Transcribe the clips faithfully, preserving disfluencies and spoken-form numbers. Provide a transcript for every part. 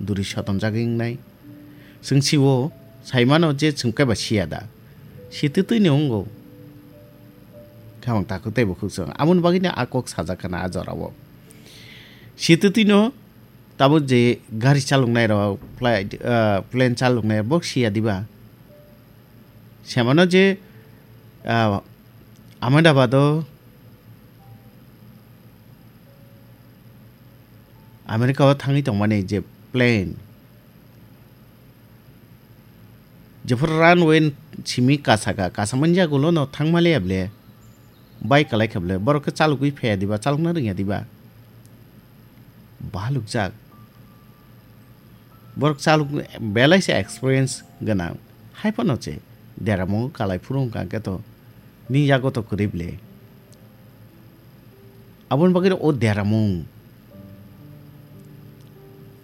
duri sotomjagwi wngnai. Chwng siwo, saimano je chwng kaiba siya da. Sitwtwino wngo. Khamang takhuk tei bukhuk chwng. Aboni bagwino a kok sajak khana a jorao. Sitwtwino tabuk je gari chaloknai rok, flight, ah, plane chaloknai rok, bo siya diba? Semano je, ah, Ahmedabad o America o thangwi tongmani je plane, jephuru runway simi kasaka, kasamani yagulo no thangmaliya ble, bai kalai kha ble, borok khe chalogwi phaiya diba, chalokna rwngya diba? Balukjak. Borok chalok belai se experience gwnang. Hai phano che deramungo kalai phuru wngkha khe to nini yago to kwrwi ble. Aboni bagwi o deramung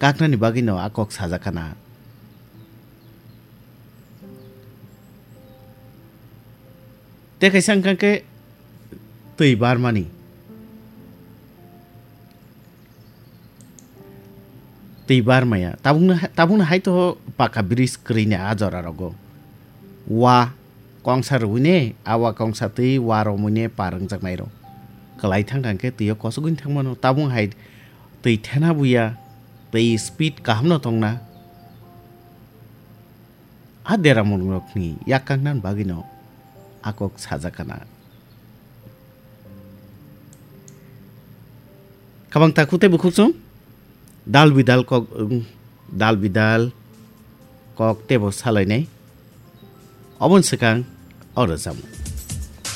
kaknani bagwi no a kok sajak khana. Tei kaisa wngkha khe twi barmani. Twi barmaya. Tabukno, tabukno hai to paka bridge kwrwini a jora rogo. Wa kongsa rwine, a wa kongsa twi wa romwine par wngjaknai rok. Kwlai thangkha khe twi o kosogwini thangmano. Tabuk hai twi thena buya, twi speed kaham no tongna. A deramungrokni yak kangna bagwino a kok sajak kana. Kabang takhuk tei bukhuk chwng dal bidal kok, dal bidal kok tebo salainai. Oboni swkang o rwchapmung.